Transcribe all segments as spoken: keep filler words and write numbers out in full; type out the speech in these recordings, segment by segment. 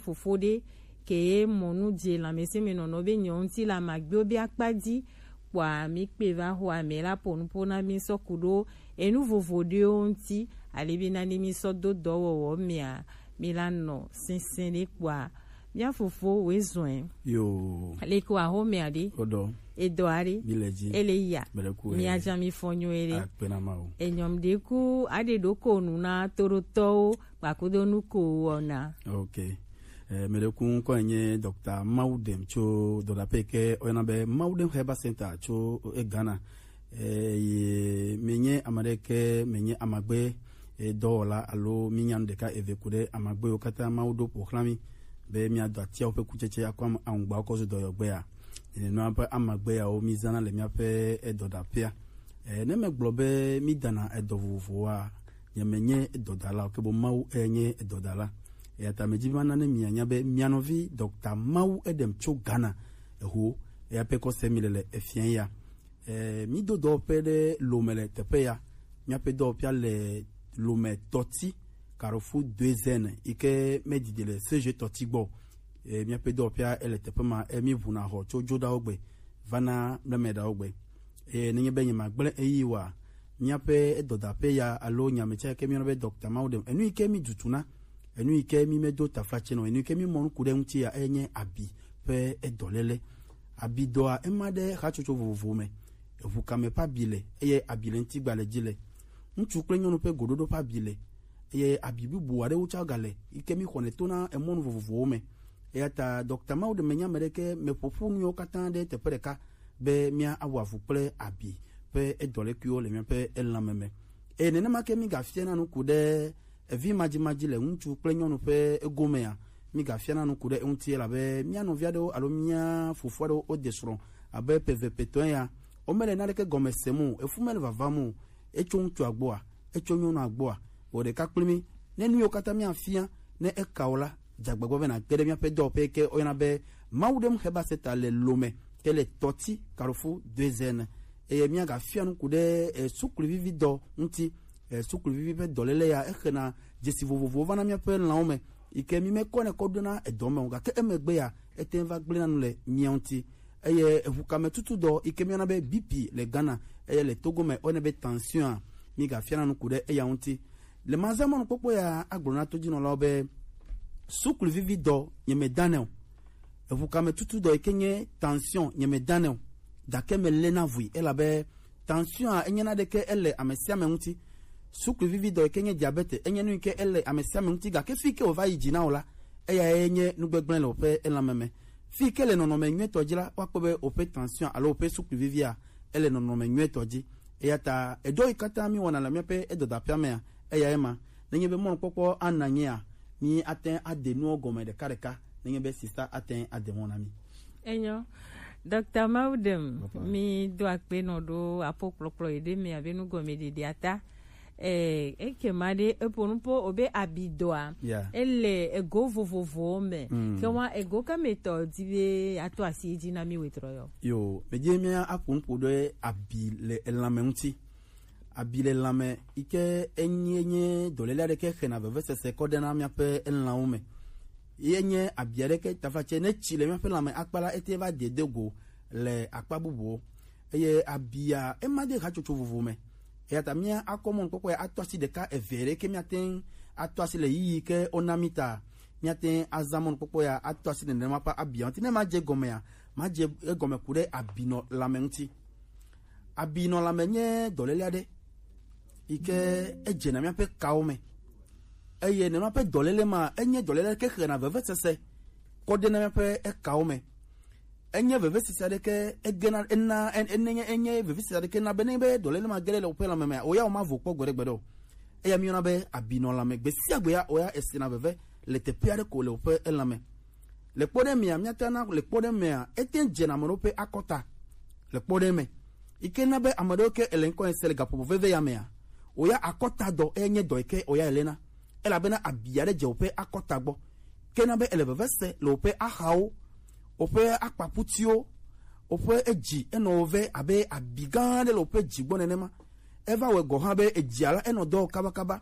fofo ɖe ke ye mɔ nu dze lãmesẽmenɔnɔ be nyɔ ŋuti le amagbewo be akpa dzi, kpɔa mi kpe va xɔ ame la ƒo nuƒo na mi sɔ ku ɖo enu vovo ɖewo ŋuti, ale be na ne mi sɔ do dɔwɔwɔ mea, mi la nɔ sɛsɛ ɖe kpɔa mia fofo woe zɔe. Yo. Leke wòaxɔ mea ɖe? Oɖɔ. Edɔ aɖe. Mi le dzi. Ele ya. Mele ku. Mia dza mi fɔ nyo ele. Akpe na Mawu. Enyɔm ɖe ku aɖe ɖo ko nu na toɖotɔwo kpakudo nu ko wɔna. Ok. Eh, mele ku ŋkɔ nye Doctor Mawudem tso dɔdaƒe ke oyana be Mawudem Herbal Center tso eh, Ghana. Eh, ye menye ame ɖe ke menye amagbe eh, dɔwɔla alo minya nu ɖeka eve ku ɖe amagbe yiwo katã Mawu ɖo ƒo xlã mi be miado atiawo ƒe kutsetse akɔ am- aŋugbawo kɔ zu dɔyɔgbea. Nenema ƒe amagbe yawo mizãna le míaƒe eh, dɔdaƒea. Eh, ne megblɔ be midana edɔ vovovowoa, nye menye edɔdala o, ke boŋ Mawu eh, nye edɔdala. Eya ta medi be mana ne mianya be mia nɔvi Doctor Mawu Edem tso Ghana eho eya ƒe kɔse mi le le efia ya. Eh, mído dɔwɔƒe ɖe Lome le teƒe ya. Míaƒe dɔwɔƒea le Lome Tɔti, Carrefour Deuxième, yi ke medidi le C G Tɔti gbɔ. Eh, míaƒe dɔwɔƒea ele teƒe ma. Eh, míʋuna xɔ tso Dzoɖawo gbe va na Mlemeɖawo gbe. Eh, nenye be nyemagblẽ eyi wa, míaƒe dɔdaƒe ya alo nyametsɛ ke míyɔna be Doctor Mawu ɖem. Enu yi ke mídutuna, enu yi ke mímedo taflatse nɔ, enu yi ke mímɔ nuku ɖe eŋuti ya, enye abi ƒe edɔléle. Abidɔa ema ɖe hatsotso vovovowo me. Eʋu kame ƒe abi le, eye abi le ŋutigba le dzi le. Ŋutsu kple nyɔnu ƒe goɖoɖo ƒe abi le, eye abi bubu aɖewo tsã gale, yi ke mi xɔnɛ to na emɔnu vovovowo me. Eya ta Doctor Mawu ɖe menya ame ɖeke me ƒoƒu nuwo katã ɖe teƒe ɖeka be mía awɔ avu kple abi ƒe edɔlekuiwo le míaƒe elãme me. Eye nenema ke mi gafia na nuku ɖe evi madzimadzi le ŋutsu kple nyɔnu ƒe egomea, mi gafia na nuku ɖe eŋuti, elabe mía nɔvi aɖewo alo mía fofo aɖewo wode srɔ̃ abe ƒe eve ƒe etɔ̃ ya, womele naneke gɔme sem o, efu mele vavam o, etso ŋutsua gbɔa, etso nyɔnua gbɔa, wò ɖeka kpli mí. Ne nu yiwo katã míafia, ne eka o la, dze agbagba be nàge ɖe míaƒe dɔwɔƒe yi ke woyɔna be Mawu ɖem Herbal Center le Lome, ke le Tɔti Carrefour Deuxième. Eye míagafia nuku ɖe eh, sukluvivi dɔ ŋuti. Eh, sukluvivi ƒe dɔléle ya, exena dzesi vovovowo va na míaƒe lãwo me, yi ke mi mekɔnɛ kɔ ɖona edɔ me o, gake emegbe ya, ete ŋu va gblẽna nu le mía ŋuti. Eye eʋukame tutu dɔ yi ke míyɔna be B P le Ghana, eye le Togo me woyɔnɛ be tension a, mi gafia na nuku ɖe eya ŋuti. Le mazamɔnukpɔkpɔ ya agblɔ na todzinɔlawo be sukluvivi dɔ nyemedane o. Eʋukame tutu dɔ yi ke nye tension nyemedane o. Gake melé na vui elabe tension a enye na ɖeke ele ame sia ame ŋuti. Sukluvivi dɔ yi ke nye diabete enye nu yi ke ele ame sia ame ŋuti, gake fi ke wòva yi dzi na o la, eyae nye nugbegblẽ le woƒe elãme me. Fi ke le nɔnɔme nyuietɔ dzi la, woakpɔ be woƒe tension alo woƒe sukluvivia ele nɔnɔme nyuietɔ dzi. Eya ta edɔ yi katã mi wɔna le míaƒe edɔdaƒea mea, eyae ma. Nenye be mɔnukpɔkpɔ ana nyea, mi ate ŋu ade nuwo gɔme ɖekaɖeka. Nenye be sista ate ŋu ade mɔ na mi. Enyo. Dɔkta Mawudem, mi do akpe nɔ ɖo apo kplɔkplɔ yi ɖe mi abe nugɔmeɖeɖea ta. Eh, ekema ɖe eƒo nu po wobe abidɔa. Yeah. Ele ego vovovowo me. Mm. Ke wa ego ka me tɔ di be ato asi edzi na mi wetrɔ yɔ. Yo, medzi mía aƒo nu ƒo ɖe abi le elãme ŋuti. Abi le lãme yi ke enye, enye dɔléle aɖe ke xena vevesese kɔ ɖena míaƒe elãwo me. Ye nye abi aɖe ke tafatsɛ ne tsi le míaƒe lãme akpa la, ete va dede go le akpa bubuwo. Eye abia ema de hatsotso vovo me. Eya ta mía akɔ mɔnukpɔkpɔ ya ato asi ɖeka eve ɖe ke míate ŋu ato asi le yiyi ke wona mí ta. Míate ŋu azã mɔnukpɔkpɔ ya ato asi nenema ƒe abia ŋuti. Ne madze egɔmea, madze egɔme ku ɖe abinɔ lãme ŋuti. Abinɔlame nye dɔléle aɖe yi ke edzena míaƒe kawo me. Eye nenema ƒe dɔléle ma, enye dɔléle ke xena vevesese kɔ ɖena míaƒe ekawo me. Enye vevesese aɖe ke egena, ena, en-, enenye, enye vevesese aɖe ke na be ne be dɔléle ma ge ɖe le woƒe lãme mea, woya womavo kpɔ gbeɖegbeɖe o. Eya míyɔna be abinɔlame. Gbe sia gbe ya, woya esena veve le teƒe aɖe ko le woƒe elãme. Le kpɔɖeŋu mea, míate na le kpɔɖeŋu mea, ete ŋu dzena ame ɖewo ƒe akɔta le kpɔɖeŋu me. Yi ke na be ame ɖewo ke ele ŋkɔ ese le gaƒoƒo veve ya mea, woya akɔta dɔ enye dɔ yi ke woya elena. Elabena abi aɖe dze woƒe akɔta gbɔ. Ke na be ele veve se le woƒe axawo, woƒe akpakputiwo, woƒe edzi enɔ wo ve abe abi gã aɖe le woƒe dzi gbɔ nenema. Eva wɔe gɔ̃ hã be edzia la enɔ dɔ wɔ kabakaba.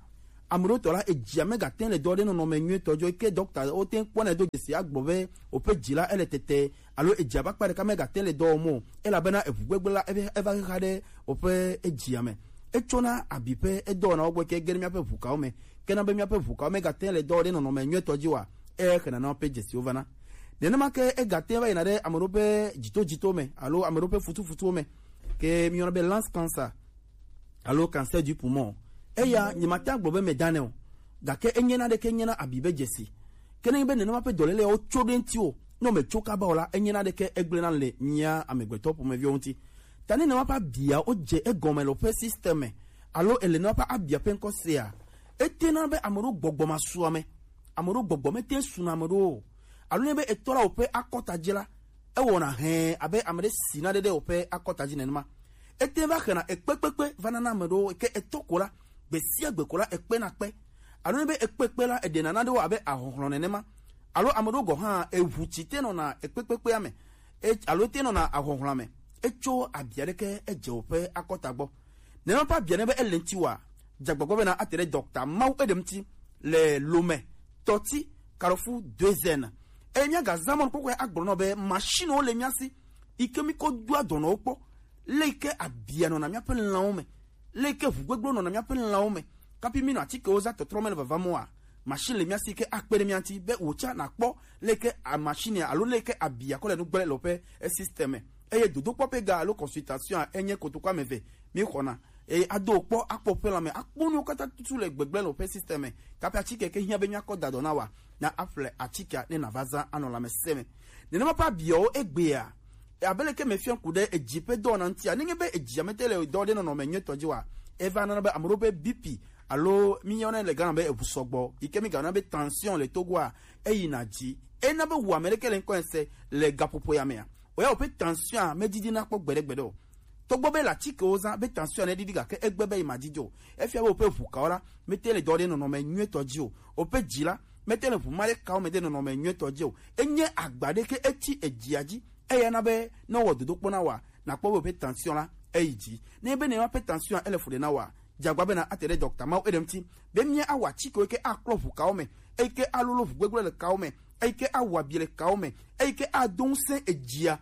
Ame ɖewo tɔ la, edzia megatɛn le dɔ ɖe nɔnɔme nyuitɔ dzi o, ke dɔkta wo te kpɔnɛ do dzesi agblɔ be woƒe dzi la ele tete, alo edzia ƒe akpa ɖeka megatɛn le dɔ wɔm o, elabena eʋugbegble la eva, eva xexa ɖe woƒe edzia me. Etsɔna abi ƒe edɔwɔnawo gbɔ ke ge ɖe míaƒe ʋukawo me. Ke na be míaƒe ʋukawo megatɛn le dɔ ɖe nɔnɔme nyuitɔ dzi oa, exena na woƒe dzesiwo vana. Nenema ke egatɛn va yina ɖe ame ɖewo ƒe dzitodzitowo me alo ame ɖewo ƒe futufutuwo me, ke míyɔna be lance cancer alo cancer du poumon. Eya nyemate ŋu agblɔ be medanɛ o, gake enye na ɖeke, enye na abi be dzesi. Ke nenye be nenema ƒe dɔléle yawo tso ɖe ŋutiwò, ne wòmetso kaba o la, enye na ɖeke egblẽna le mía amegbetɔ ƒomeviwo ŋuti. Ta ne nenema ƒe abiawo dze egɔme le woƒe système me, alo ele nenema ƒe abia ƒe ŋkɔ sea, etena be ame ɖewo gbɔgbɔ masu ame, ame ɖewo gbɔgbɔ mete ŋu suna ame ɖewo o. Alo ne be etɔ la woƒe akɔta dzi la, ewɔna hɛɛ abe ame ɖe si naɖe ɖe woƒe akɔta dzi nenema. Ete va xena ekpekpekpe va nana ame ɖewo, ke etɔ ko la, gbe sia gbe ko la, ekpena kpe. Alo ne be ekpekpe la, eɖena naɖewo abe ahɔhlɔ̃ nenema. Alo ame ɖewo gɔ̃ hã, eʋu tsi te nɔna ekpekpekpea me, e, alo te nɔna ahɔhlɔ̃a me. Etso abia ɖeke edze woƒe akɔta gbɔ. Nenema ƒe abia ne be ele ŋuti wa, dze agbagba bena ate ɖe dɔkta mawu eɖe ŋuti le Lome, Tɔti, Carrefour Deuxième. Eye míagazã mɔnukpɔkpɔe agblɔ nɔ be machine wo le mía si, yi ke mí kɔ doa dɔnɔwo kpɔ, le yi ke abia nɔna míaƒe lãwo me, le yi ke ʋugbegblẽwo nɔna míaƒe lãwo me, kapi mí nɔ atikewo zã tɔtrɔ me le vava mɔa, machine le mía si yi ke akpe ɖe mía ŋuti be wòtsa nakpɔ le yi ke a-, machine alo le yi ke abia kɔ le nu gblẽ le woƒe, e, système me. Eye dodokpɔ ƒe ga alo consultation a enye kotoku ame eve mí xɔna. Eye ado kpɔ, akpɔ ƒe lãme, akpɔ nuwo katã tutu le gbegblẽ le woƒe système me. Kaƒe atike ke hiã be míakɔ da dɔ na wa, na aƒle atikea ne nàva zã anɔ lãmesẽ me. Nenema ƒe abiawo egbea, abe leke mefia ŋku ɖe edzi ƒe dɔwɔna ŋutia, nenye be edzia mete le dɔ ɖe nɔnɔme nyuitɔ dzi wa, eva nana be ame ɖewo ƒe B P alo míyɔnɛ le Ghana be eʋu sɔgbɔ, yi ke mígayɔna be tension le Togoa, eyina dzi. Ena be wu ame ɖeke le ŋkɔ ese le gaƒoƒo ya mea. Oya woƒe tension a medidina kpɔ gbeɖegbeɖe o. Togbɔ be le atikewo zã be tension ne ɖiɖi gake egbe be yi ma didi o. Efia be woƒe ʋukawo la mete le dɔ ɖe nɔnɔme nyuitɔ dzi o. Woƒe dzi la mete le ʋu ma ɖe kawo me ɖe nɔnɔme nyuitɔ dzi o. Enye agba ɖe ke etsi edzia dzi. Eya na be ne wɔ dodokpɔ na wa, nakpɔ be woƒe tension la eyi dzi. Ne be ne woƒe tension ele fu ɖe na wa, dze agba bena ate ɖe dɔkta mawo eɖe ŋuti be mía awɔ atikewo ke aklɔ ʋu kawo me, eyi ke alolo ʋu gbegblẽ le kawo me, eyi ke awɔ abi le kawo me, eyi ke ado ŋusẽ edzia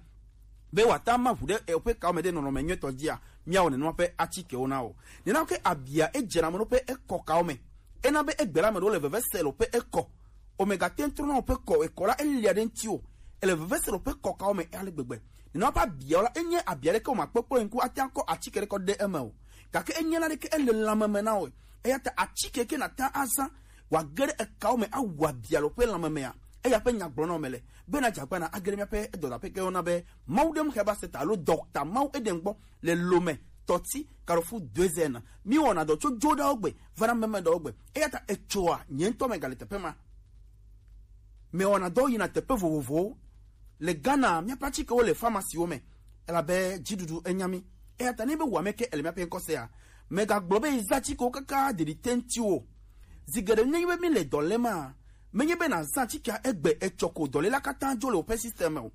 be wòate ŋu aʋu ɖe eƒe kawo me ɖe nɔnɔme nyuitɔ dzia, míawɔ nenema ƒe atikewo na wo. Nenema ke abia edzena ame ɖewo ƒe ekɔ kawo me. Ena be egbe la ame ɖewo le veve se le woƒe ekɔ. Omegate ŋu trɔna woƒe kɔ, ekɔ la elia ɖe ŋuti o. Ele veve se le woƒe kɔ kawo me ale gbegbe. Nenema ƒe abiawo la, enye abia ɖeke wòmakpɔkpɔ ŋku ate ŋu akɔ atike ɖe kɔ ɖe eme o. Gake enye na ɖeke ele lãme me na wò. Eya ta atike ke nàte ŋu azã wòage ɖe ekawo me awu abia le woƒe lãme mea, eya ƒe nya gblɔ na wò mele. Bena dze agbagba na age ɖe míaƒe edɔdaƒe ke wona be Mawu ɖem Herbal Center alo Dɔkta Mawu Eden gbɔ le Lome, Tɔti, Carrefour Deuxième. Míwɔna dɔ tso dzoɖawo gbe va na memeɖewo gbe. Eya ta etsoa, nye ŋutɔ megale teƒe ma. Mewɔna dɔ yina teƒe vovovowo. Le Ghana, míaƒe atikewo le pharmacywo me, elabe dziɖuɖu enya mí. Eya ta ne be wò ame ke ele míaƒe ŋkɔ sea, megagblɔ be zã atikewo kaka ɖeɖi te ŋuti o. Zi geɖe nenye be míle dɔ lém a, menye be nàzã atikea egbe etsɔ ko dɔléla katã dzo le woƒe système me o.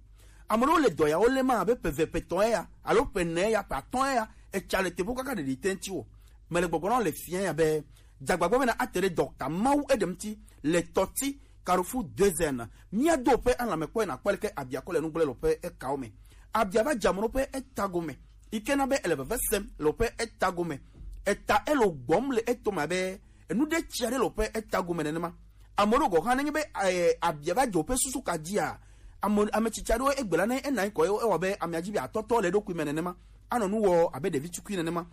Ame ɖewo le dɔ yawo lém abe ƒe eve, ƒe etɔ̃ eya, alo ƒe ene eya, ƒe atɔ̃ eya, etsa le teƒewo kaka ɖeɖi te ŋuti o. Mele gbɔgblɔ na wò le fiẽ ya be, dze agbagba bena ate ɖe Dɔkta Mawu Eɖem ŋuti le Tɔti, Carrefour Deuxième. Míado woƒe alãme kpɔe nàkpɔ leke abia kɔ le nu gblẽ le woƒe ekawo me. Abia va dze ame ɖewo ƒe eta gome, yi ke na be ele veve sem le woƒe eta gome. Eta ele wo gbɔm le etome abe enu ɖe tsi aɖe le woƒe eta gome nenema. Ame ɖewo gɔ̃ hã, nenye be, eh, abia va dze woƒe susu ka dzia, ame, ame tsitsi aɖewo egbe la ne ena anyi kɔ, ewɔ abe amea dzi be atɔtɔ le eɖokui me nenema. Anɔ nu wɔ abe ɖevi tukui nenema.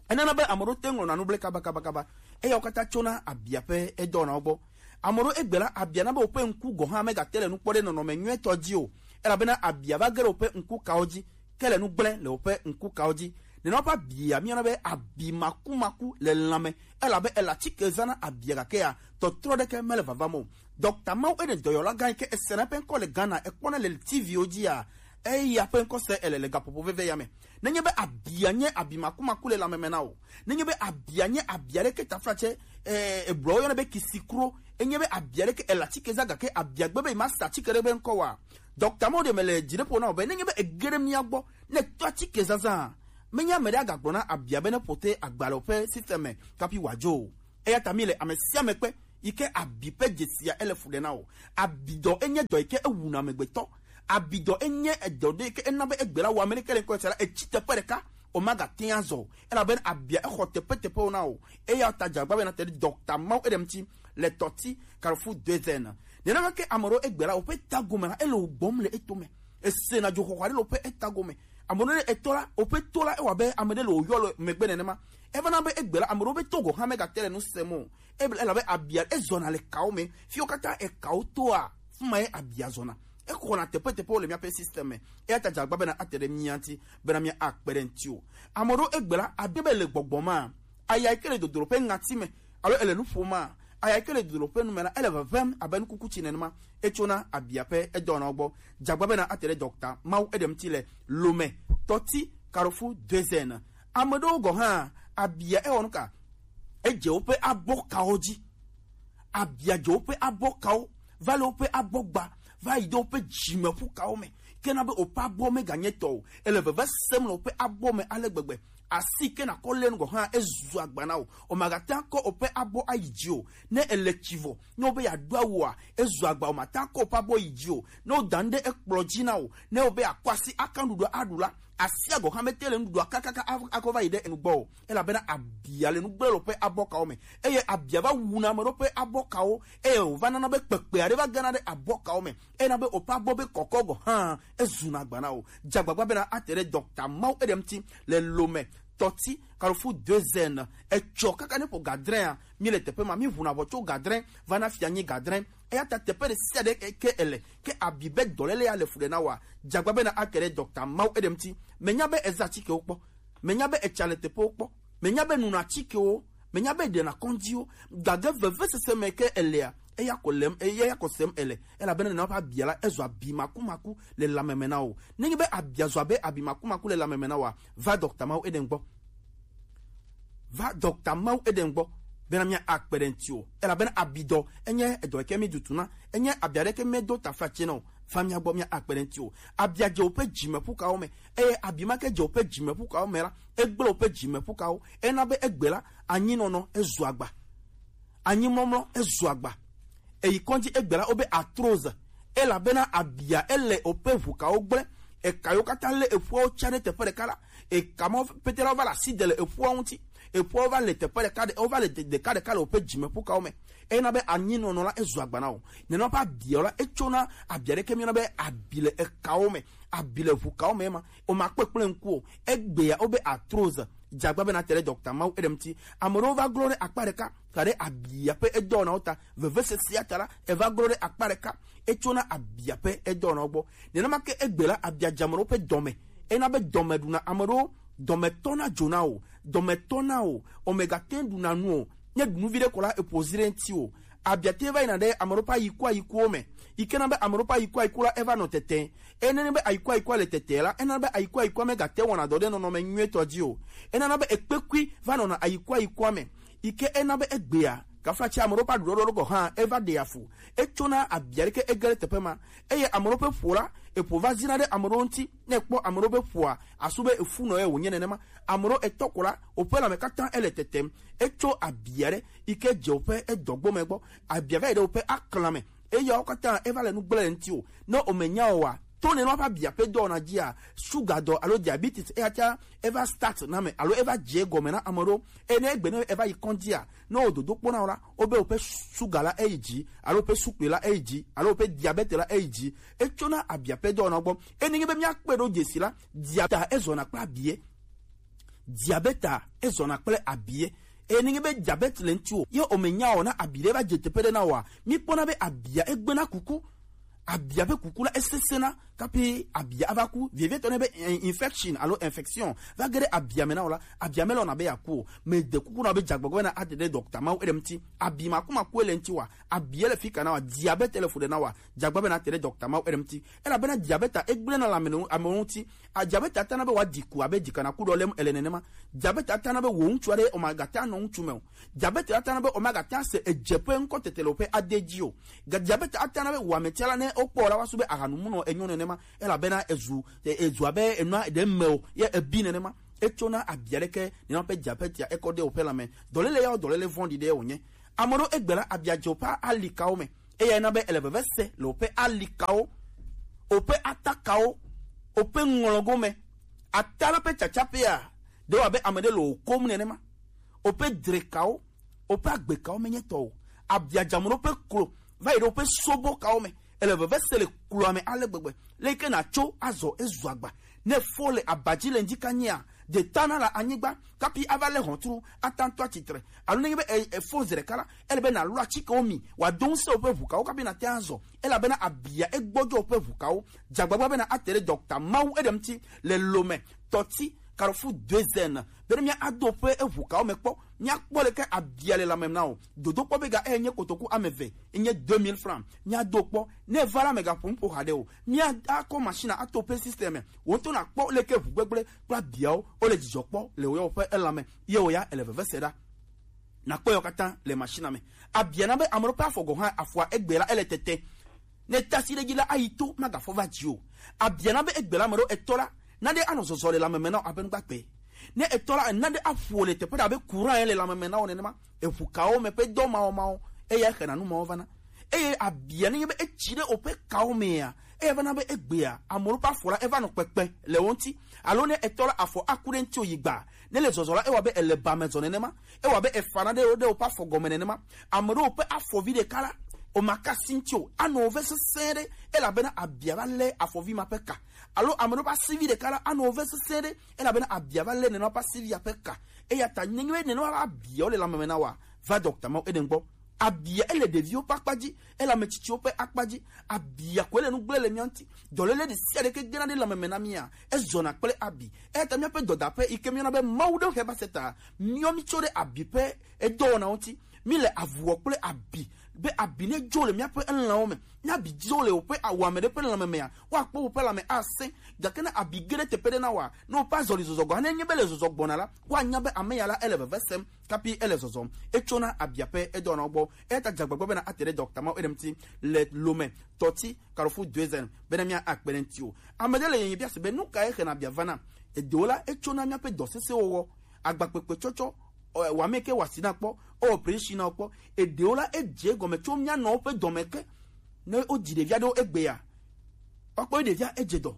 Enana be ame ɖewo te ŋlɔna nu ble kabakabakaba. Eyawo katã tsona abia ƒe edɔwɔnawo gbɔ. Ame ɖewo egbe la, abia na be woƒe ŋku gɔ̃ hã megate le nu kpɔ ɖe nɔnɔme nyuitɔ dzi o, elabena abia va ge ɖe woƒe ŋku kawo dzi, ke le nu gblẽ le woƒe ŋku kawo dzi. Nenema ƒe abia míayɔna be abi makumaku le lãme, elabe ele atike zã na abia, gakea, tɔtrɔ ɖeke mele vavam o. Dɔkta Mawu Eden dɔyɔla gã yi ke esena eƒe ŋkɔ le Ghana, ekpɔna le T V wo dzia, eya ƒe ŋkɔ se ele le gaƒoƒo veve ya me. Nenye be abia nye abi makumaku le lãme me na wò, nenye be abia nye abia ɖe ke taflatse, eh, Hebrewwo yɔna be kisikro, enye be abia ɖe ke ele atike zã gake abia gbe be yemasa atike ɖe be ŋkɔ wa, Dɔkta Mawu Eden mele dzi ɖe ƒo na wò be nenye be ege ɖe mía gbɔ, ne tɔ atike zazã, menye ame ɖe agagblɔ na abia be ne ƒote agba le woƒe système me kapi wòadzo o. Eya ta mi le ame sia ame kpe yi ke abi ƒe dzesia ele fu ɖe na o. Abidɔ enye dɔ yi ke ewuna amegbetɔ. Abidɔ enye edɔ ɖe yi ke ena be egbe la wɔ ame ɖeke le ŋkɔ sia la, etsi teƒe ɖeka, o magate ŋu azɔ o. Elabena abia exɔ teƒeteƒewo na o. Eya ta dze agbagba be na te ɖe dɔkta mawo eɖe ŋuti le tɔti Carrefour deux N. Nenema ke ame ɖewo egbe la, woƒe ta gome la, ele wo gbɔm le etome. Esena dzoxɔxɔ aɖe le woƒe eta gome. Ame ɖewo ne etɔ la, woƒe to la, ewɔ abe ame ɖe le wòyɔ le megbe nenema. Evana be egbe la, ame ɖewo be to gɔ̃ hã megate le nu sem o. Ebe-, elabe abia ezɔna le kawo me. Fiwo katã ekawo toa, fi ma ye abia zɔna. Exɔna teƒeteƒewo le míaƒe système me. Eya ta dze agbagba bena ate ɖe mía ŋuti, bena mía akpe ɖe ŋuti o. Ame ɖewo egbe la, abe be le gbɔgbɔ ma, aya yi ke le dodro ƒe ŋati me, alo ele nu ƒom ma, aya yi ke le dodro ƒe nu me la, ele vevem abe nukuku tsi nenema. Etsona abia ƒe edɔwɔnawo gbɔ. Dze agbagba bena ate ɖe dɔkta mawo eɖe ŋuti le Lome, tɔti, Carrefour deux N. Ame ɖewo gɔ̃ hã, abia ewɔ nu ka? Edze woƒe abɔkawo dzi. Abia dze woƒe abɔkawo, va le woƒe abɔgba, va yi ɖe woƒe dzimeƒukawo me. Ke na be woƒe abɔ meganye tɔ o. Ele veve sem le woƒe abɔ me ale gbegbe. Asi ke nakɔ lé nu gɔ̃ hã, ezu agba na wò. Wòmagate ŋu akɔ woƒe abɔ ayi dzi o. Ne ele tsi vɔ, ne wobe yeaɖo awua, ezu agba, wòmate ŋu akɔ woƒe abɔ yi dzi o. Ne woda nu ɖe ekplɔ dzi na wò, ne wobe yeakɔ asi aka nuɖuɖua aɖu la, asia gɔ̃ hã mete le nuɖuɖua kakaka a-, akɔ va yi ɖe enu gbɔ o. Elabena abia le nu gblẽ le woƒe abɔkawo me. Eye abia va wuna ame ɖewo ƒe abɔkawo, eye wòva nana be kpekpe aɖe va gena ɖe abɔkawo me. Ena be woƒe abɔ be kɔkɔ gɔ̃ hã, ezuna agba na wò. Dze agbagba bena ate ɖe dɔkta mawo eɖe ŋuti le Lome, tɔti, Carrefour deux N. Etsɔ kaka ne ƒo gadrẽa, mi le teƒe ma, mi ʋuna ʋɔ tso gadrẽ va na fianyi gadrẽ. Eya ta teƒe ɖe sia ɖe ke ele, ke abi be dɔléle ya le fu ɖe na wòa, dze agbagba bena ake ɖe dɔkta mawo eɖe ŋuti. Menya be ezã atikewo kpɔ. Menya be etsa le teƒewo kpɔ. Menya be nuna atikewo. Menya be ɖena kɔndziwo. Gake vevesese me ke elea, eya ko lem, eya ko sem ele. Elabena nena ƒe abia la, ezɔ abi makumaku le lãme me na wò. Nenye be abia zɔ abe abi makumaku le lãme me na wòa, va dɔkta mawo eɖe ŋu gbɔ. Va dɔkta mawo eɖe ŋu gbɔ bena mía akpe ɖe ŋuti o. Elabena abidɔ enye edɔ yi ke mi dutu na. Enye abia ɖe ke medo taflatse na o. Va mía gbɔ, mía akpe ɖe ŋuti o. Abia dze woƒe dzimeƒukawo me. Eye abi ma ke dze woƒe dzimeƒukawo me la, egblẽ woƒe dzimeƒukawo. Ena be egbe la, anyinɔnɔ ezu agba. Anyimɔmlɔ ezu agba. Eyi kɔdzi egbe la, wobe arthrose. Elabena abia ele woƒe ʋukawo gblẽ. Eka yiwo katã lé eƒuawo tsa ɖe teƒe ɖeka la, eka ma pete la, wova le asi de le eƒuawo ŋuti. Eƒuawo va le teƒe ɖeka ɖe, wova le de-, ɖeka ɖeka le woƒe dzimeƒukawo me. Ena be anyinɔnɔ la ezu agba na wò. Nenema ƒe abiawo la, etsona abia ɖeke míyɔna be abi le ekawo me, abi le ʋukawo me ma. Wòmakpɔ kple ŋku o. Egbea wobe arthrose. Dze agbagba bena ate ɖe dɔkta mawo eɖe ŋuti. Ame ɖewo va glɔ ɖe akpa ɖeka, ka ɖe abia ƒe edɔwɔnawo ta. Vevesesea ta la, eva glɔ ɖe akpa ɖeka. Etsona abia ƒe edɔwɔnawo gbɔ. Nenema ke egbe la, abia dze ame ɖewo ƒe dɔme. Ena be dɔme ɖuna ame ɖewo, dɔme tɔna dzona o, dɔme tɔna o, omegate ŋu ɖuna nu o. Ne ɖu nu viɖe ko la, eƒo zi ɖe ŋuti o. Abia te va yina ɖe ame ɖewo ƒe ayikuayikuwo me, yi ke na be ame ɖewo ƒe ayikuayiku la eva nɔ tete. Eye nenye be ayikuayikua le tete la, ena be ayikuayikua megate wɔna dɔ ɖe nɔnɔme nyuietɔ dzi o. Enana be ekpekui va nɔna ayikuayikua me, yi ke ena be egbea, kaflatse ame ɖewo ƒe aɖuɖɔɖewo gɔ̃ hã eva ɖea fu. Etsona abia ɖeke ege ɖe teƒe ma. Eye ame ɖewo ƒe ƒo la, eƒo va zina ɖe ame ɖewo ŋuti. Ne ekpɔ ame ɖewo ƒe ƒoa, asu be efu nɔ ye wònye nenema. Ame ɖewo etɔ ko la, woƒe lãme katã ele tetem. Etso abia ɖe yi ke dze woƒe edɔgbome gbɔ. Abia va yi ɖe woƒe aklã me. Eyawo katã eva le nu gblẽ le ŋuti o. Ne womenya o wa, to nenema ƒe abia ƒe dɔwɔna dzia, suga dɔ alo diabetes eya ta eva start na me alo eva dze egɔme na ame ɖewo. Eye ne egbe ne eva yi kɔndzia, ne wo dodo kpɔna o la, wobe woƒe suga la eyi dzi, alo woƒe sukpli la eyi dzi, alo woƒe diabete la eyi dzi. Etsona abia ƒe dɔwɔna gbɔ. Eye nenye be míakpe ɖo dzesi la, diabeta ezɔna kple abie. Diabeta ezɔna kple abie. Eye nenye be diabete le ŋuti o, ye omenya o na abi ɖe va dze teƒe ɖe na oa, míkpɔna be abia egbena kuku. Abia ƒe kuku la esesẽna kapi abia ava ku. Vevietɔ ne be, eh, infection alo infection va ge ɖe abia me na o la, abia me lɔna be yeaku o. Mede kuku na be dze agbagba bena ate ɖe dɔkta mawo eɖe ŋuti. Abi makumaku ele ŋuti wa, abia le fika na wa, diabete le fu ɖe na wa, dze agbagba bena ate ɖe dɔkta mawo eɖe ŋuti. Elabena diabeta egblẽna le ame nu-, amewo ŋuti. A, diabeta tana be wòaɖi ku abe dzikanaku ɖɔ lém ele nenema. Diabeta tana be wò ŋutsu aɖe omagate anɔ ŋutsu me o. Diabeta tana be omagate ase edzeƒe ŋkɔ tete le woƒe ade dzi o. Ga-, diabeta tana be wò ametia la ne wokpɔ la woasu be ahanumunɔ enyo nenema. Elabena ezu, e-, ezu abe enua ɖe me o, ye ebi nenema. Etsona abia ɖeke nena ƒe dza ƒe tia ekɔ ɖe woƒe lãme. Dɔléle yawo dɔléle vɔ̃ɖi ɖe wònye. Ame ɖewo egbe la abia dze woƒe alikawo me. Eyae na be ele veve se le woƒe alikawo, woƒe atakawo, woƒe ŋlɔgo me. Ata la ƒe tsatsaƒea ɖe wɔ abe ame ɖe le wò kom nenema. Woƒe drekawo, woƒe agbekawo menye tɔ o. Abiadzamro ƒe klo va yi ɖe woƒe sobokawo me. Ele veve se le kloa me ale gbegbe. Le yi ke nàtso azɔ ezu agba. Ne fɔ le aba dzi le ŋdi kanyia, detana le anyigba kapi ava le hɔntru ata ŋutɔ atsitre. Alo nenye be e- efɔ zi ɖeka la, ele be nàlɔ atikewo mi wòado ŋusẽ woƒe ʋukawo kapi nàte ŋu azɔ. Elabena abia egbɔdzɔ woƒe ʋukawo. Dzagbagba bena ate ɖe dɔkta mawu eɖe ŋuti le lome tɔti Carrefour deux N. Bene mía ado ƒe eʋu kawo me kpɔ, mía kpɔ leke abia le lãme na o. Dodo kpɔ be ga eye nye kotoku ame eve, enye deux mille francs. Mía do kpɔ, ne va la me ga ƒo nuƒo haɖe o. Mía akɔ machine ato ƒe système me. Wo ŋutɔ na kpɔ leke ʋu gbegblẽ kple abiawo, wo le dzidzɔ kpɔ le wo ya woƒe elãme. Ye wo ya ele veve se ɖa. Nakpɔ yɔ katã le machine me. Abia na be ame ɖewo ƒe afɔ gɔ̃ hã, afɔa egbe la ele tete. Ne tasi ɖe dzi la ayi to magafɔ va dzi o. Abia na be egbe la ame ɖewo etɔ la, naɖe anɔ zɔzɔ le lãmeme na wo abe nugbagbe. Ne etɔ la naɖe aƒo le teƒe ɖe abe courant ye le lãmeme na wo nenema. Eʋu kawo me ƒe dɔ mawo mawo, eya xena nu mawo vana. Eye abia ne nye be etsi ɖe woƒe kawo mea, eya vana be egbea ame ɖewo ƒe afɔ la eva nɔ kpekpe le wo ŋuti. Alo ne etɔ la afɔ aku ɖe ŋuti o yi gba, ne le zɔzɔ la, ewɔ abe ele ba me zɔ nenema. Ewɔ abe efana ɖe ɖe woƒe afɔ gɔme nenema. Ame ɖewo ƒe afɔvi ɖeka la, womaka asi ŋuti o, anɔ wo ve sesẽ ɖe, elabena abia va lé afɔvi ma ƒe ka. Alo ame ɖewo ƒe asivi ɖeka la, anɔ wo ve sesẽ ɖe, elabena abia va lé nenema ƒe asivia ƒe ka. Eya ta nenye be nenema ƒe abiawo le lãmeme na wa, va dɔkta mawo eɖe gbɔ. Abia ele ɖeviwo ƒe akpa dzi, ele ame tsitsiwo ƒe akpa dzi. Abia koe le nu gblẽ le mía ŋuti. Dɔléle ɖe sia ɖe ke gena ɖe lãmeme na mía, ezɔna kple abi. Eya ta míaƒe dɔdaƒe yi ke míeyɔna be Mawu ɖe Heba Seta, míɔ mí tso ɖe abi ƒe edɔwɔnawo ŋuti. Míle avuwɔ kple abi, be abi ne dzo le míaƒe elãwo me. Ne abi dzo le woƒe awame ɖe ƒe lãme mea, woakpɔ woƒe lãme asẽ. Gake ne abi ge ɖe teƒe ɖe na woa, ne woƒe azɔlizɔzɔ gɔ̃ hã nenye be le zɔzɔ gbɔna la, woanya be ame ya la ele veve sem kapi ele zɔzɔm. Etsona abia ƒe edɔwɔnawo gbɔ. Eya ta dze agbagba bena ate ɖe dɔkta mawo eɖe ŋuti le lome tɔti Carrefour deux N bena mía akpe ɖe ŋuti o. Ame ɖe le yeye bia se be nu kae xena abia vana? Eɖewo la etsona míaƒe dɔ sesẽwo wɔ, agbakpekpe tsɔtsɔ, ɔ, wame ke wɔ asi na kpɔ, ɔ, operation na kpɔ. Eɖewo la edze egɔme tso mía nɔwo ƒe dɔme ke. Ne wodzi ɖevi aɖewo egbea, woakpɔ be ɖevia edze dɔ.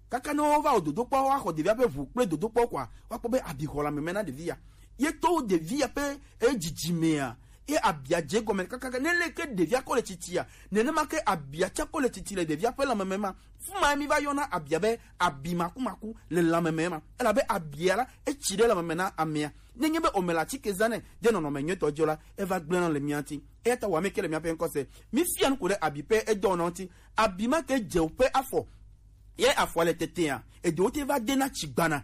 Kaka ne wova wɔ dodokpɔ, woaxɔ ɖevia ƒe ʋu kple dodokpɔ koa, woakpɔ be abi xɔ lãmeme na ɖevi ya. Ye to ɖevi ya ƒe edzidzi mea, ye abia dze egɔme kakaka. Ne leke ɖevia kɔ le tsitsia, nenema ke abia tsɛ kɔ le tsitsi le ɖevia ƒe lãmeme ma. Fi ma mi va yɔna abia be abi makumaku le lãmeme ma. Elabe abia la, etsi ɖe lãmeme na amea. Nenye be womele atike zã nɛ ɖe nɔnɔme nyuitɔ dzi o la, eva gblẽna le mía ŋuti. Eya ta wɔ ame ke le míaƒe ŋkɔ se. Mifia nuku ɖe abi ƒe edɔwɔna ŋuti. Abi ma ke dze woƒe afɔ. Ye afɔa le tetea, eɖewo te va dena tsigbana.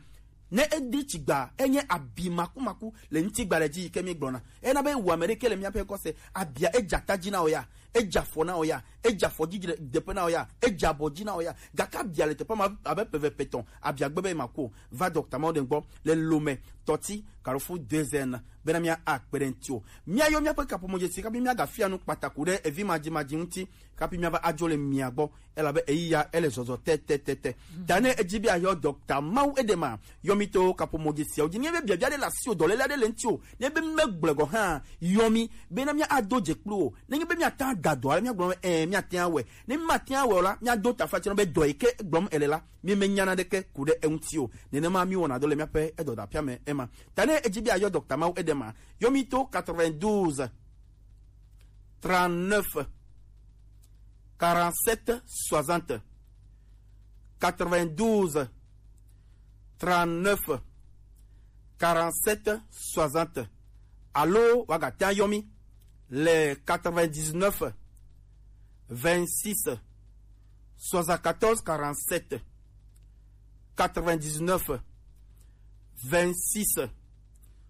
Ne edi tsigba, enye abi makumaku le ŋutigba le dzi yi ke míegblɔna. Ena be wɔ ame ɖe ke le míaƒe ŋkɔ se, abia edze ata dzi na wò ya, edze afɔ na wò ya, edze afɔ dzi ɖe-, deƒe na wò ya, edze abɔ dzi na wò ya. Gake abia le teƒe ma abe ƒe eve ƒe etɔ̃, abia gbe be maku o. Va dɔkta mawo ɖe gbɔ le lome tɔti Carrefour deux N bena mía akpe ɖe ŋuti o. Míayɔ míaƒe kaƒomɔ dzesi kabi míagafia nu kpataku ɖe evi madzimadzi ŋuti kapi míava adzo le mia gbɔ, elabe eyi ya ele zɔzɔ tɛtɛtɛtɛ. Ta ne edzi be ayɔ dɔkta mawu eɖe ma, yɔ mi to kaƒomɔ dzesiawo dzi. Ne be biabia ɖe le asi o, dɔléle aɖe le ŋuti o, ne be megblẽ gɔ̃ hã, yɔ mi bena mía ado dze kpli wo. Nenye be míate ŋu ada dɔ ale míagblɔ be, ɛ̃, míate ŋu awɔe. Ne mímate ŋu awɔe o la, míado taflatse nɔ be dɔ yi ke gblɔm ele la, mímenya naneke ku ɖe eŋuti o. Nenema míwɔna dɔ le míaƒe edɔdaƒea me ema. Ta ne edzi be ayɔ dɔkta mawu eɖe ma, yɔ mi to quatre-vingt-douze, trente-neuf, quarante-sept, soixante. Quatre-vingt-douze, trente-neuf, quarante-sept, soixante. Alo wagate ŋu ayɔ mi le quatre-vingt-dix-neuf, vingt-six, soixante-quatorze, quarante-sept. Quatre-vingt-dix-neuf, vingt-six,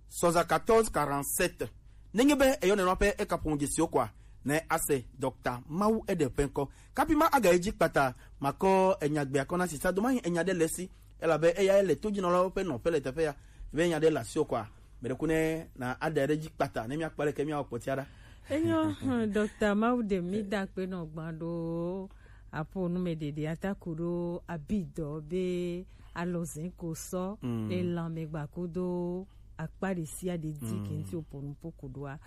soixante-quatorze, quarante-sept. Nenye be eyɔ nenema ƒe ekaƒomɔ dzesiwo koa, ne ase dɔkta mawu eɖe ƒe ŋkɔ. Kapi ma aga edzi kpata, makɔ enya gbea kɔ na sisa do mahi enya ɖe le esi, elabe eya le to dzi nɔlawo ƒe nɔƒe le teƒe ya. Be enya ɖe le asiwò koa, meɖe kuku ne na aɖe ɖe dzi kpata ne míakpɔ leke míawɔ kpɔtia ɖa. Enyo, hmm, dɔkta mawu ɖe mi da kpe nɔ gbã ɖo. Apo nu me ɖeɖe ata kuɖo abidɔ be alɔzɛn ko sɔ le lanmɛ gba kudo akpa ɖe sia ɖe di ke ŋti opo nu po kuɖoa.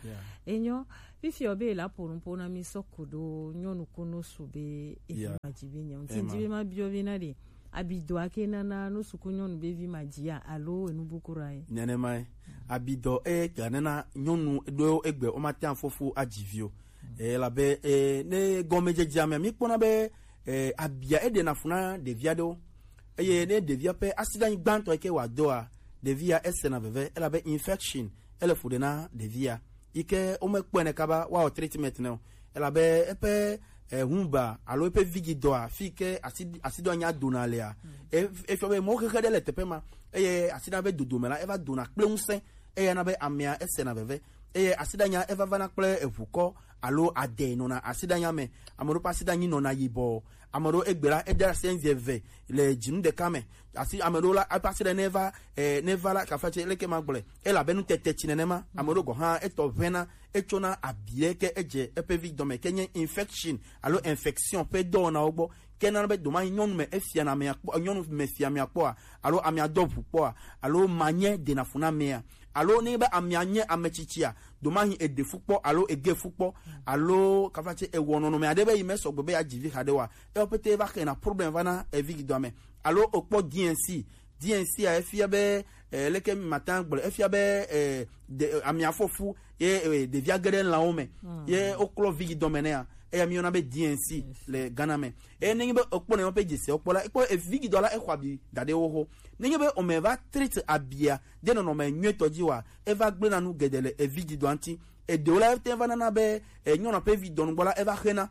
Enyɔ, fifi o be la po nu po na mi sɔ kuɖo nyɔnu ko nosu be evi ma dzi be nyɔ. Ŋti dzi be ma biɔ be na ɖe abidɔ ake nana nosu ko nyɔnu be vi ma dzi a alo enu bu kura ye. Nenema ye. Abidɔ e ga nana nyɔnu ɖo egbe o ma te afɔfu adzi vi o. E la be e ne gɔmedzedzea me mi kpɔna be e abia e ɖena fu na ɖevi aɖewo. Eye ne ɖevia ƒe asiɖanyi gbãtɔ yi ke wòadɔa, ɖevia esena veve, elabe infection ele fu ɖe na ɖevia. Yi ke womekpɔe ne kaba woawɔ treatment ne o. Elabe eƒe eh, humba alo eƒe vigidɔa, fi ke asi asiɖɔa nya dona lea, e- efiɔ be mɔxexe ɖe le teƒe ma, eye asiɖa be dodome la eva dona kple ŋusẽ, eye na be amea esena veve, eye asiɖanya eva vana kple eʋukɔ alo ade nɔna asiɖanya me. Ame ɖewo ƒe asiɖanyi nɔna yibɔ, ame ɖewo egbe la ede asi eve le dzinu ɖeka me. Asi ame ɖewo la eƒe asiɖa ne va eh, ne va la kafa tse leke ma gblɔe, elabe nutete tsi nenema. Ame ɖewo gɔ̃ hã etɔ ʋẽna, etsona abi ɖe ke edze eƒe vi dɔme ke nye infection alo infection ƒe dɔwɔnawo gbɔ. Ke nana be domahi nyɔnu me efia na amea kpɔ, nyɔnu me fia amea kpɔa, alo amea dɔ ʋu kpɔa, alo manye dena fu na amea, alo ne be amea nye ame tsitsia, domahi eɖe fu kpɔ alo ege fu kpɔ, alo kafa tse ewɔ nɔnɔme aɖe be yi me sɔgbe be yeadzi vi haɖe oa, ewo pete va xena problem va na evi gidoa me. Alo okpɔ D N C, D N C a efia be eh, leke mata gblɔ efia be eh, de, eh, amea fɔfu ye eh, ɖevia ge ɖe lãwo me ye woklɔ vi gidoa me nea, eya mi yɔna be D N C le Ghana me. Eye nenye be ekpɔ ne ƒe dzesi wokpɔ la, ekpɔ evi gidoa la exɔ abi da ɖe wo ho. Nenye be ome va treat abia de nɔnɔme nyuitɔ dzi wa, eva gblẽ na nu geɖe le evi gidoa ŋuti. Eɖewo la ete va nana be eh, nyɔnua ƒe vi dɔnu gbɔ la eva xena.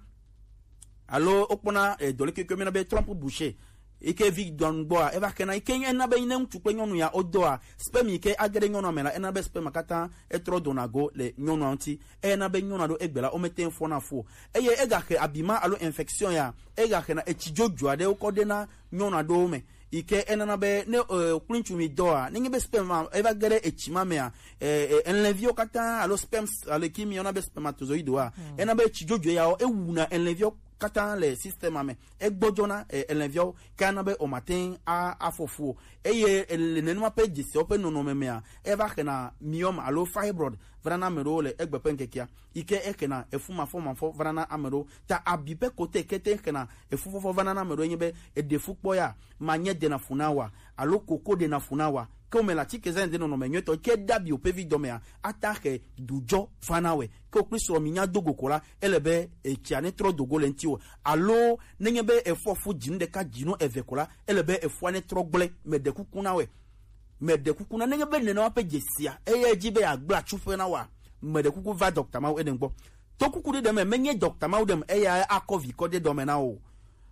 Alo wokpɔna eh, dɔlékeke mina be trompe bouchée. Yi ke vi dɔnu gbɔa, eva xena, yi ke ena be ne ŋutsu kple nyɔnu ya wodɔa, sperme yi ke age ɖe nyɔnua me la, ena be sperme katã etrɔ dona go le nyɔnua ŋuti. Eye ena be nyɔnua ɖo egbe la, womete ŋu fɔna fu o. Eye egaxe abima alo infection ya, egaxena etsi dzodzo aɖe wokɔ ɖe na nyɔnua ɖewo me. Yi ke enana be ne eh, kple ŋutsu mi dɔa, nenye be sperme ma eva ge ɖe etsi ma mea, eh, eh, elẽviwo katã alo sperms alo ki mi yɔna be spermatozoïde wa, ena be etsi dzodzo ya wo ewuna elẽviwo katã le système me. Egbɔdzɔna eh, elẽviawo ke ana be womate ŋu a- afɔ fu o. Eye ele nenema ƒe dzesiawo ƒe nɔnɔme mea, eva xena myome alo fibroid vana na ame ɖewo le egbe ƒe ŋkekea, yi ke exena efu mafɔmafɔ vana na ame ɖewo. Ta abi ƒe kote kete xena efu fɔfɔ vana na ame ɖewo nye be eɖe fu kpɔ ya, manye dena fu na wa alo koko dena fu na wa. Ke wome le atike zã de nɔnɔme nyuitɔ ke dabi woƒe vi dɔmea, ata xe dudzɔ vana wɛ. Ke wokpli srɔ̃ mi nya do go ko la, ele be etsia ne trɔ do go le ŋuti o. Alo nenye be efɔ fu dzinu ɖeka dzinu eve ko la, ele be efua ne trɔ gblẽ. Meɖe kuku na wɛ. Meɖe kuku na, nenye be nenema ƒe dzesia, eye edzi be yeagblẽ atsuƒe na wa, meɖe kuku va dɔkta mawo ene gbɔ. To kuku ɖe ɖe me, menye dɔkta mawo ɖem eya akɔ vi kɔ ɖe dɔme na o.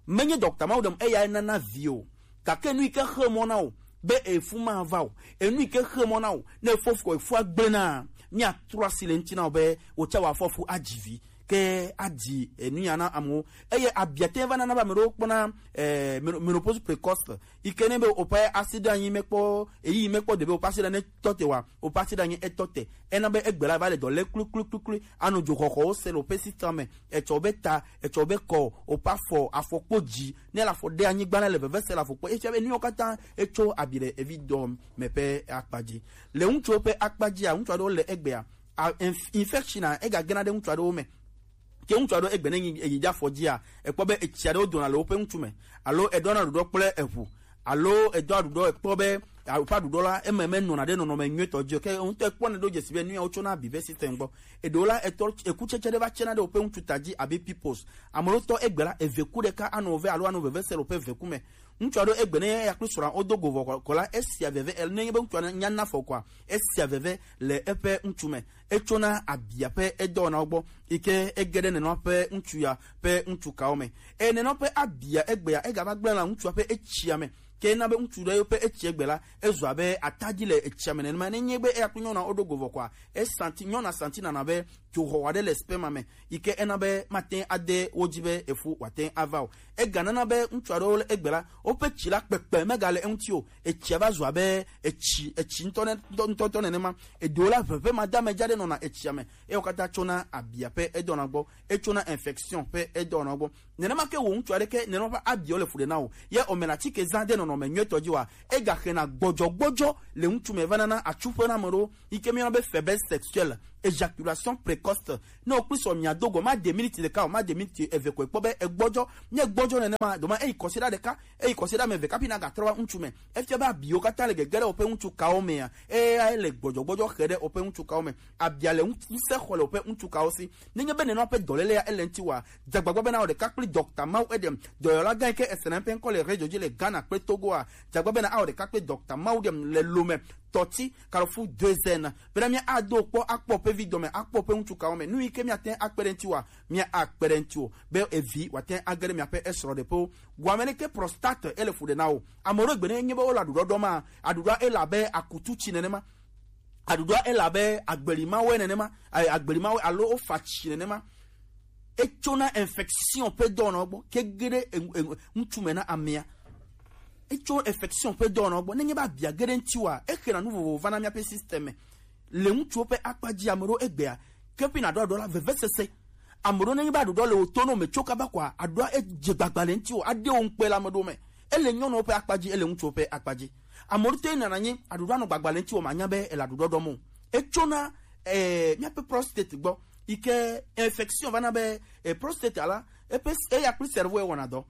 Menye dɔkta mawo ɖem eya nana vi o. Gake nu yi ke xe mɔ na o be efu ma va o, enu yi ke xe mɔ na o ne efɔ fu efua gblẽ na, míatrɔ asi le ŋuti na o be wòtsa wòafɔ fu adzi vi ke adzi enu ya na amewo. Eye abiate va nana be ame ɖewo kpɔna eh, meno- menopause précoce yi ke ne be woƒe asiɖe anyi mekpɔ eyi mekpɔ de be woƒe asiɖe ne tɔ te wa, woƒe asiɖe anyi etɔ te. Ena be egbe la va le dɔ le klikliklikli, anɔ dzoxɔxɔwo se le woƒe système me, etsɔ be ta, etsɔ be kɔ, woƒe afɔ, afɔ kpo dzi, ne le afɔ ɖe anyigba la le veve se le afɔ kpo. Efia be nuwo katã etso abi le evi dɔ me ƒe akpa dzi. Le ŋutsuwo ƒe akpa dzia, ŋutsu aɖewo le egbea, a- inf- infection a egagena ɖe ŋutsu aɖewo me. Ke ŋutsu aɖewo egbe ne yi yi ɖe afɔ dzia, ekpɔ be etsi aɖewo dona le woƒe ŋutu me, alo eɖɔna ɖuɖɔ kple eʋu, alo edo aɖuɖɔ ekpɔ be woƒe aɖuɖɔ la eme menɔna ɖe nɔnɔme nyuitɔ dzi o. Ke ŋutɔ ekpɔ ne ɖo dzesi be nu ya wotsona abi ve système gbɔ. Eɖewo la etɔ ekutsetse ɖe va tsena ɖe woƒe ŋutu ta dzi abe pipos. Ame ɖewo tɔ egbe la eve ku ɖeka anɔ ve alo anɔ veve se le woƒe ve ku me. Ŋutsu aɖewo egbe ne ya kple srɔ̃a wodo go vɔ kɔ la, esia veve el- nenye be ŋutsua nya na fɔ kɔa, esia veve le eƒe ŋutu me. Etsona abia ƒe edɔwɔnawo gbɔ yi ke ege ɖe nenɔ ƒe ŋutsu ya ƒe ŋutsu kawo me. Eye nenɔ ƒe abia egbea egava gblẽ la ŋutsua ƒe etsia me. Ke na be ŋutsu ɖe yewo ƒe etsi egbe la, ezu abe atadi le etsia me nenema. Nenye be eya kple nyɔnua woɖo go vɔ kɔa, esanti nyɔnua santi nana be to xɔ wa ɖe le sperme me, yi ke ena be mate ade wo dzi be efu wòate ava o. Ega nana be ŋutsu aɖewo le egbe la, woƒe tsi la kpekpe megale eŋuti o. Etsia va zu abe etsi, etsi ŋutɔ ne-, ŋutɔ, ŋutɔ, ŋutɔ nenema. Eɖewo la, ʋeʋẽ ma da me dza ɖe nɔna etsia me. Ewo katã tsona abia ƒe edɔna gbɔ. Etsona infection ƒe edɔna gbɔ. Nenema ke wo ŋutsu aɖe ke nenema ƒe abiawo le fu ɖe na o. Ye o me na tike zã de nɔnɔme nyuitɔ dzi wa. Ega xena gbɔdzɔgbɔdzɔ le ŋutsu me va nana atsu ƒe na ame ɖewo. Yi ke míyɔna be faiblesse sexuelle, éjaculation précoce. Ne wokpli sɔ mia do go, ma de miniti ɖeka o, ma de miniti eve ko ekpɔ be egbɔdzɔ. Ne egbɔdzɔ nenema, doma eyi kɔsiɖa ɖeka, eyi kɔsiɖa ame eve kapi na gatrɔ va ŋutsu me. Efia be abiwo katã le gege ɖe woƒe ŋutsu kawo mea, eya le gbɔdzɔgbɔdzɔ xe ɖe woƒe ŋutsu kawo me. Abia le ŋu-, ŋusẽ xɔ le woƒe ŋutsu kawo si. Nenye be nenema ƒe dɔléle ya ele ŋuti wa, dze agbagba bena wò ɖeka kpli Dɔkta Mawu Edem, dɔyɔla gã yi ke esena eƒe ŋkɔ le radio dzi le Ghana kple Togoa, dze agbagba bena awɔ ɖeka kpli Dɔkta Mawu Edem le Lome, Tɔti, Carrefour deux N. Bena mía ado kpɔ, akpɔ ƒe vi dɔme, akpɔ ƒe ŋutsu kawo me. Nu yi ke míate akpe ɖe ŋuti wa, mía akpe ɖe ŋuti o. Be evi wòate age ɖe miaƒe esrɔ̃ɖeƒewo. Wɔme ɖe ke prostate ele fu ɖe na o. Ame ɖewo gbe ne nye be wole aɖuɖɔ ɖɔ ma, aɖuɖɔ ele abe akutu tsi nenema. Aɖuɖɔ ele abe agbelimawe nenema, a-, agbelimawe alo wofa tsi nenema. Etsona infection ƒe dɔwɔnawo gbɔ ke ge ɖe enu-, enu-, ŋutsu me na amea. Etso infection ƒe dɔwɔnawo gbɔ. Nenye be abia ge ɖe ŋuti wa, exena nu vovovo va na míaƒe système me. Le ŋutsuwo ƒe akpa dzi, ame ɖewo egbea, ke ƒi naɖo aɖuɖɔ la, vevesese. Ame ɖewo nenye be aɖuɖɔ le wò to ne wòmetso kaba koa, aɖuɖɔ edze gbagba le ŋuti o, aɖe wo ŋukpe le ame ɖewo me. Ele nyɔnuwo ƒe akpa dzi, ele ŋutsuwo ƒe akpa dzi. Ame ɖewo te nana anyi, aɖuɖɔ anɔ gbagba le ŋuti o, manya be ele aɖuɖɔ ɖɔm o. Etsona, eh, míaƒe prostate gbɔ, yi ke infection va na be, eh, prostate la, eƒe s-, eya kple cerveau ewɔna dɔ.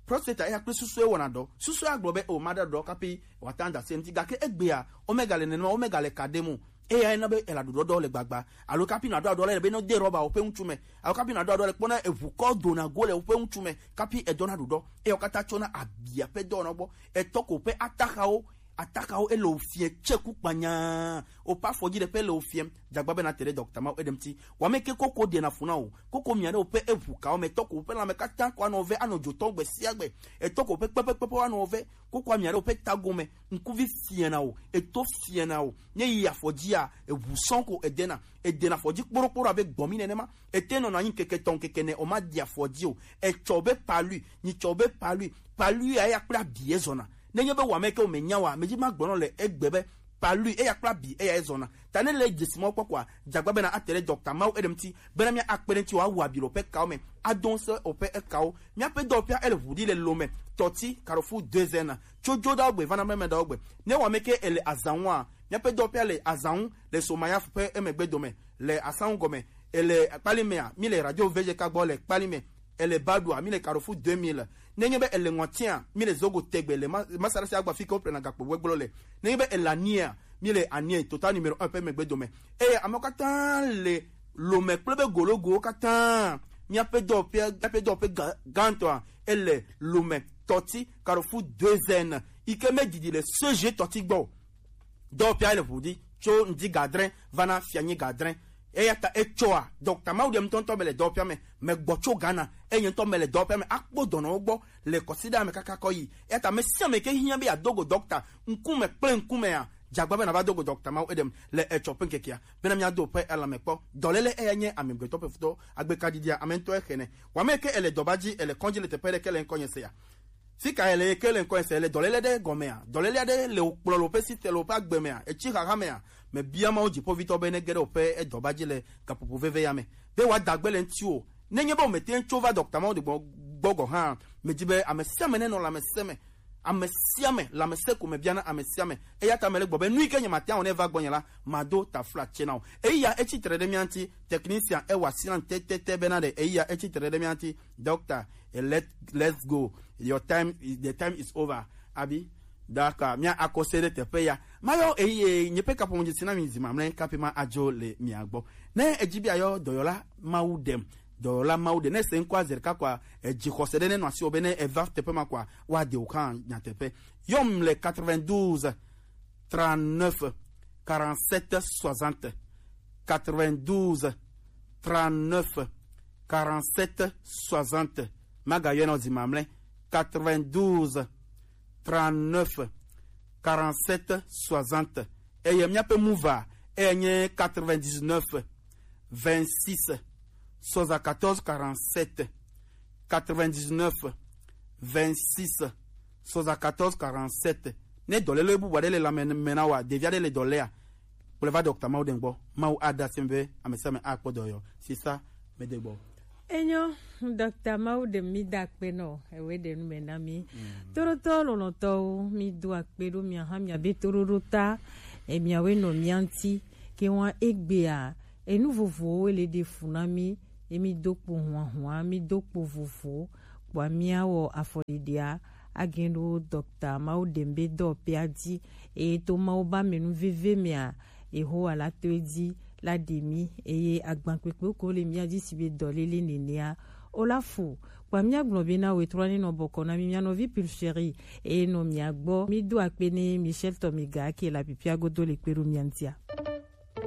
Prostate eya kple susu ewɔna dɔ. Susu agblɔ be, o, maɖe aɖuɖɔ kapi wòate ŋu ada se ŋuti. Gake egbea, omega le nenema, omega le ka ɖem o. Eya ena be ele aɖuɖɔ ɖɔ le gbagba. Alo kapi naɖo aɖuɖɔ le be ne de rɔba woƒe ŋutsu me. Alo kapi naɖo aɖuɖɔ le kpɔna eʋu kɔ dona go le woƒe ŋutsu me. Kapi edɔna aɖuɖɔ. Eya katã tsɔna abia ƒe dɔwɔna gbɔ. Etɔ ko ƒe ataxawo, ataxawo ele wo fiɛ tse ku kpanya. Woƒe afɔdzi ɖeƒe le wo fiɛm. Dze agbagba bena te ɖe Dɔkta Mawu Edem ŋuti. Wɔme ke koko ɖena fu na wò. Koko mia ɖe woƒe eʋu kawo me. Etɔ ko ƒe lãme katã ko anɔ ve, anɔ dzotɔ gbe sia gbe. Etɔ ko ƒe kpekpekpe anɔ ve. Koko amia ɖe woƒe tago me, ŋkuvi fiana o, eto fiana o. Ne yi afɔ dzia, eʋu sɔŋ ko edena, edena afɔ dzi kporoɖokporo abe gbɔmi nenema. Ete nɔna anyi ŋkeke etɔ̃ ŋkeke ene, o ma di afɔ dzi o. Etsɔ be palu, nyi tsɔ be palu, palu ya ya kple abi ezɔna. Nenye be wame ke wome nya wa, medzi magblɔ nɔ le egbe be palu eya kple abi eya ezɔna. Ta ne le dzesi mawo kpɔ koa, dze agbagba bena ate ɖe Dɔkta Mawu Edem ŋuti, bena mía akpe ɖe ŋuti wòawu abi le woƒe kawo me, ado ŋusẽ woƒe ekawo. Míaƒe dɔwɔƒea ele ʋu ɖi le Lome, Tɔti, Carrefour deux N, tso Dzoɖawo gbe va na Mɛmɛɖawo gbe. Ne wame ke ele azã ŋua, míaƒe dɔwɔƒea le azã ŋu le Somayafu ƒe emegbe dome, le Asangu gɔme, ele Kpalimea, mi le Radio V G K gbɔ le Kpalime, ele Badua, mi le Carrefour deux mille. Nenye be ele Ŋɔtia, mi le Zogo Tegbe le ma-, Masarasi agba fi ke woƒlena gakpo gbegblɔ le. Nenye be ele Ania, mi le Ania, Total numéro un ƒe megbe dome. Eye amewo katã le Lome kple be gologowo katã. Míaƒe dɔwɔƒea, míaƒe dɔwɔƒe gã-, gãtɔa, ele Lome, Tɔti, Carrefour deux N, yi ke medidi le C G Tɔti gbɔ o. Dɔwɔƒea le ʋu ɖi tso ŋdi gadre va na fianyi gadre. Eya ta etsɔa, Dɔkta Mawu ɖe ŋutɔŋutɔ mele dɔwɔƒea me, megbɔ tso Ghana, eye ŋutɔ mele dɔwɔƒea me, akpɔ dɔnɔwo gbɔ le kɔsiɖa me kaka kɔ yi. Eya ta ame sia ame ke hiã be yeado go dɔkta ŋkume kple ŋkumea, dze agbagba be nava do go Dɔkta Mawu Edem le etsɔ ƒe ŋkekea, bena míado ƒe elãme kpɔ. Dɔléle eya nye amegbetɔ ƒe futɔ, agbekaɖiɖia ame ŋutɔ exenɛ. Wame ke ele dɔba dzi, ele kɔdzi le teƒe ɖe ke le ŋkɔnye sea. Fika ele ke le ŋkɔ ese le dɔléle ɖe gɔmea? Dɔléle aɖe le wokplɔ le woƒe site le woƒe agbe mea? Etsi xaxa mea? Mebia Mawu dziƒoʋĩtɔ be nege ɖe woƒe edɔba dzi le gaƒoƒo veve ya me, be wòada gbe le ŋutiwò. Nenye be womete ŋu tso va dɔkta mawo de gbɔ, gbɔ gɔ̃ hã, medi be ame sia ame nenɔ lãmesẽ me. Ame sia ame, lãmesẽ ko mebiana ame sia ame. Eya ta mele gbɔ be nu yi ke nyemate ŋu awɔ ne eva gbɔnye la, mado taflatse na wò. Eya etsi tre ɖe mía ŋuti, technician ewɔ asi nam tetete bena ɖe eya etsi tre ɖe mía ŋuti. Doctor, eh, let, let's go. Your time, the time is over. Abi, d'accord, mía akɔse ɖe teƒe ya. Mayɔ eye nye ƒe kaƒomɔ dzi si na mi zi mamlɛ kafi ma adzo le mia gbɔ. Ne edzi be ayɔ dɔyɔla Mawu ɖem, dɔyɔla Mawu ɖe, ne se ŋkɔa zi ɖeka kɔa, edzi xɔse ɖe ne nɔ asi wɔ be ne eva teƒe ma kɔa, woaɖe wò hã nyateƒe. Yɔm le quatre-vingt-douze, trente-neuf, quarante-sept, soixante. Quatre-vingt-douze, trente-neuf, quarante-sept, soixante. Magayɔe nɔ zi mamlɛ. Quatre-vingt-douze, trente-neuf, quarante-sept, soixante. Eye míaƒe muva, eye nye quatre-vingt-dix-neuf, vingt-six soixante-quatorze quarante-sept, quatre-vingt-dix-neuf vingt-six soixante-quatorze quarante-sept. Ne dɔlele bubu aɖe le lãme me na wa, ɖevi aɖe le dɔ lea, kplɔe va Dɔkta Mawu ɖe gbɔ. Mawu aɖe asi be ame sia ame akpɔ dɔyɔ. C'est ça, me de gbɔ. Enyo, Dɔkta Mawu ɖe mi da akpe nɔ ewe ɖe nu me na mi. Toɖotɔ lɔlɔtɔwo, mi do akpe ɖo mia hã mia be toɖoɖo ta, e miawe nɔ mia ŋuti, ke wa egbea, enu vovovowo le ɖe fu na mi, emi do kpo huahua, mi do kpo vovo, kpoa miawɔ afɔɖiɖia, agɛn ɖo Dɔkta Mawu ɖem be dɔ pea dzi, eye to Mawu ba me nu veve mea, Yehowa la to edzi la ɖe mi, eye agbankpekpe ko le mia dzi si be dɔlele nenea, o la fu, kpoa mia gblɔ be na we trɔ ne nɔ bɔkɔ na mi mia nɔvi Pulchérie, eye nɔ mia gbɔ, mi do akpe ne Michel Tomiga ke la pipia godo le kpe ɖo mia ŋutia.